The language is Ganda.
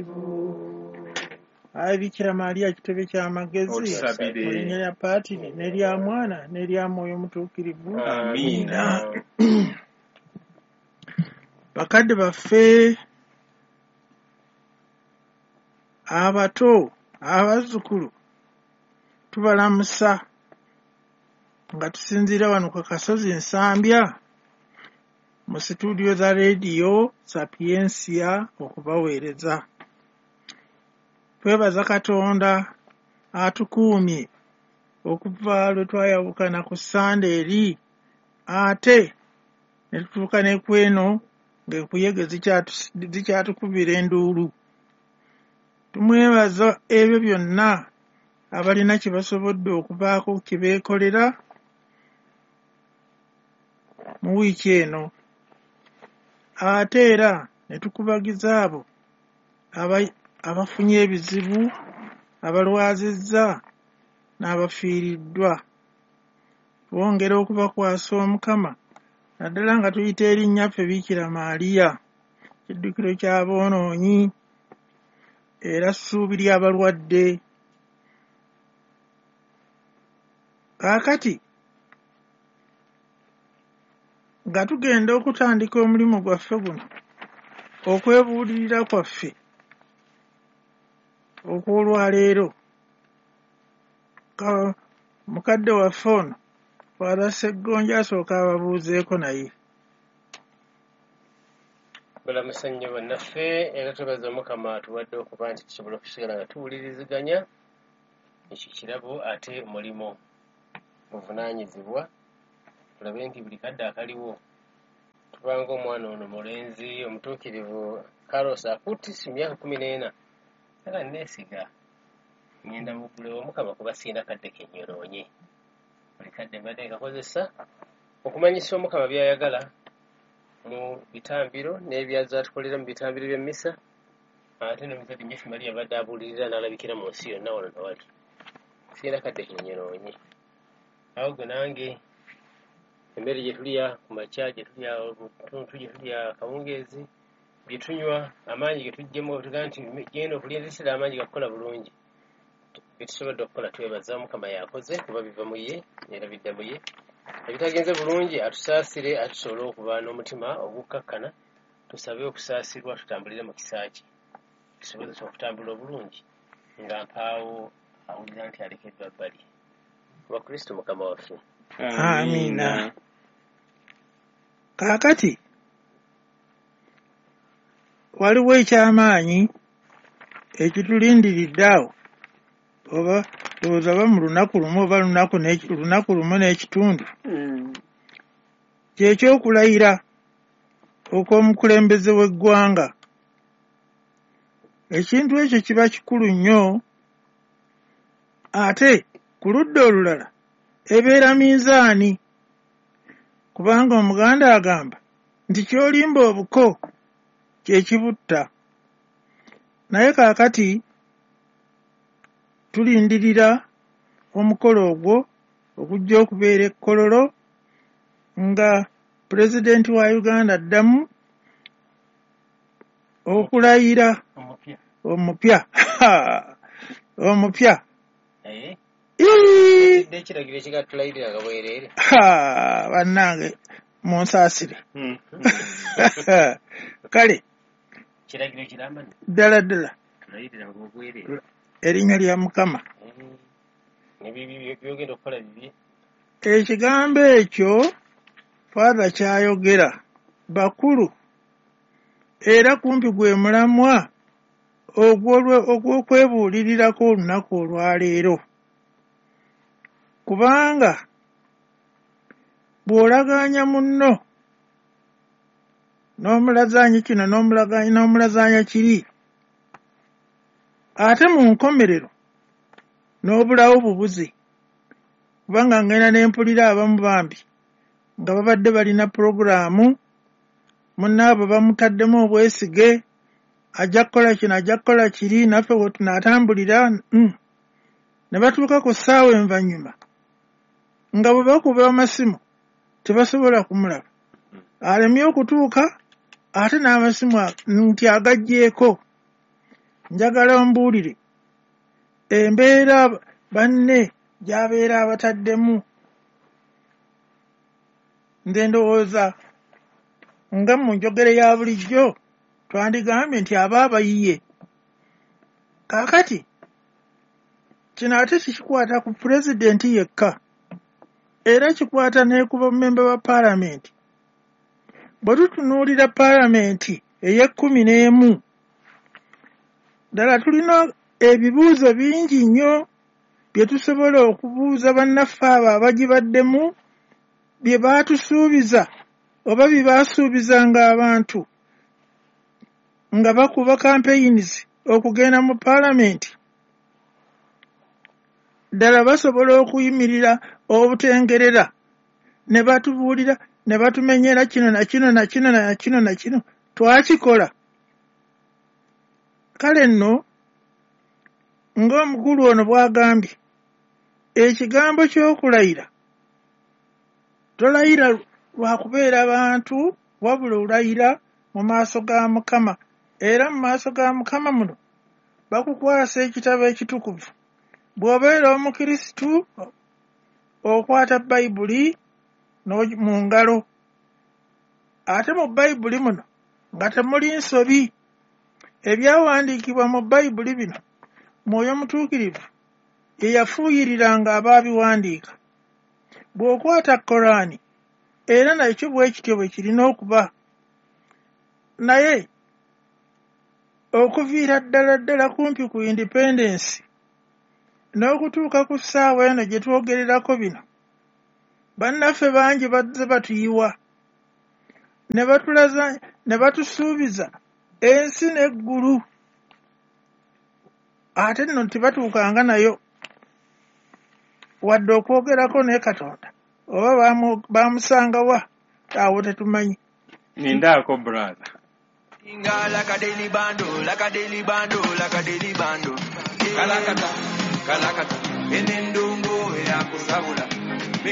Mutuukirivu. Ayi Bikira Maria kitebe ky'amagezi, Otusabire. mu linnya lya Paatiri n'erya Mwana n'erya Mwoyo Mutuukirivu. Amiina. Bakadde baffe abato, abazzukulu, tubalamusa nga tusinziira wano ku kasozi Nsambya mu situdiyo za leediyo Sapiensia okubaweereza. Twebaza Katonda atukuumye okuva lwe twayawukana ku Ssande eri ate ne tutuuka ne ku eno ng'enkuyege zikyatukubira enduulu. Tumwebaza ebyo byonna abalina kye basobodde okubaako kye beekolera mu wiiki eno. Ate era ne tukubagiza abo abafunye ebizibu, abalwazizza n'abafiiriddwa. Twongera okubakwasa Omukama naddala nga tuyita erinnyaffe Bikira Maria, kiddukiro ky'aboonoonyi era ssuubi ly'abalwadde. Kaakati nga tugenda okutandika omulimu gwaffe guno, okwebuulirira kwaffe okw'olwaleero, mukadde waffe ono Father Ssegonja asooka ababuuzeeko naye. Balamusa nnyo bannaffe, era twebaza Omukama atuwadde okuba nti tusobola okusigala nga tuwuliriziganya. Ekyo kirabo ate mulimu buvunaanyizibwa, tulabe nti buli kadde akaliwo tubanga omwana ono mulenzi omutuukirivu Carlos Acutis mu myaka 14 era neesiga ngenda muggulewo Omukama kuba sirina kadde kenyonoonye. Buli kadde mbadde nkakozesa okumanyisa Omukama by'ayagala mu bitambiro n'ebyazze atukolera mu bitambiro by'emmisa, ate n'omuzadde Nnyaffe Maria abadde abuulirira n'alabikira mu nsi yonna wano na wali. Sirina kadde kenyonoonye. Awo gwe nange emmere gye tulya ku makya, gye tulya ttuntu, gye tulya akawungeezi, bye tunywa, amaanyi ge tuggyemu, tugamba nti genda okulya enziisira amaanyi gakukola bulungi. Bye tusobodde okukola twebaza Omukama yakoze kuba biva mu ye era bidda mu ye. Ebitagenze bulungi atusaasire, atusobole okuba n'omutima ogukkakkana, tusabe okusaasirwa tutambulire mu kisa kye, tusobozese okutambula obulungi nga mpaawo awulira nti alekeddwa bbali. Kuba Kristo Mukama waffe. Amiina. Kaakati waliwo ekyamaanyi ekitulindiridde awo, oba ndowooza oba mu lunaku lumu oba lunaku lumu n'ekitundu, ky'ekyokulayira okw'omukulembeze w'eggwanga. Ekintu ekyo kiba kikulu nnyo, ate ku ludda olulala ebeera minzaani, kubanga Omuganda agamba nti ky'olimba obuko kye kibutta. Naye kaakati tulindirira omukolo ogwo ogujja okubeera e Kololo nga pulezidenti wa Uganda addamu okulayira omupya omupya. Ekiragiro ekigatulayirira bwereere. Bannange munsaasire. Kale kiragiro kiramba ddala ddala tulayirira obwereere erinnya lya Mukama. Byogenda okukola bibi. Ekigambo ekyo Father kyayogera bakulu era kumpi gwe mulamwa ogw'okwebuulirirako olunaku olwaleero, kubanga bw'olagaanya munno n'omulazaanya kino n'omulazaanya kiri, ate mu nkomerero n'obulawo bubuze, kubanga ngenda ne mpulira abamu bambi nga babadde balina pulogulaamu, munnaabwe bamutaddemu obwesige, ajja kukola kino, ajja kukola kiri, naffe we tunaatambulira. Ne batuuka ku ssaawa envannyuma nga bwe bakuba amasimu tebasobola kumulaba, alemye okutuuka ate n'amasimu nti agaggyeeko. Njagala ombuulire embeera banne gy'abeera abataddemu. Nze ndowooza nga mu njogera ya bulijjo twandigambye nti aba abayiye. Kaakati kino ate tekikwata ku pulezidenti yekka, era kikwata ne ku bammemba ba paalamenti. Bwe tutunuulira paalamenti ey'e 11, ddala tulina ebibuuzo bingi nnyo bye tusobola okubuuza bannaffe abo abagibaddemu, bye baatusuubiza oba bye baasuubizanga abantu nga bakuba campaigns okugenda mu paalamenti. Ddala basobola okuyimirira obutengerera ne batubuulira ne batumenyera kino na kino na kino na kino na kino twakikola? Kale nno, ng'omukulu ono bw'agambye, ekigambo ky'okulayira, tolayira lwa kubeera bantu, wabula olayira mu maaso ga Mukama. Era mu maaso ga Mukama muno bakukwasa ekitabo ekitukuvu. Bw'obeera Omukirisitu, okwata Bayibuli mu ngalo, ate mu Bayibuli muno nga temuli nsobi. Ebyawandiikibwa mu Bayibuli bino, Mwoyo Mutuukirivu ye yafuuyiriranga abaabiwandiika. Bw'okwata Koraani, era nakyo bwe kityo bwe kirina okuba. Naye okuviira ddala ddala kumpi ku independence n'okutuuka ku ssaawa eno gye twogererako bino, bannaffe bangi bazze batuyiwa ne batulaza ne batusuubiza ensi n'eggulu, ate nno tebatuukanga nayo wadde okwogerako ne Katonda, oba bamusanga wa awo tetumanyi. Nindaako, brother. Like a daily bando, like a daily bando, like a daily bando. Kalakata, kalakata, enendongo eyakusabula.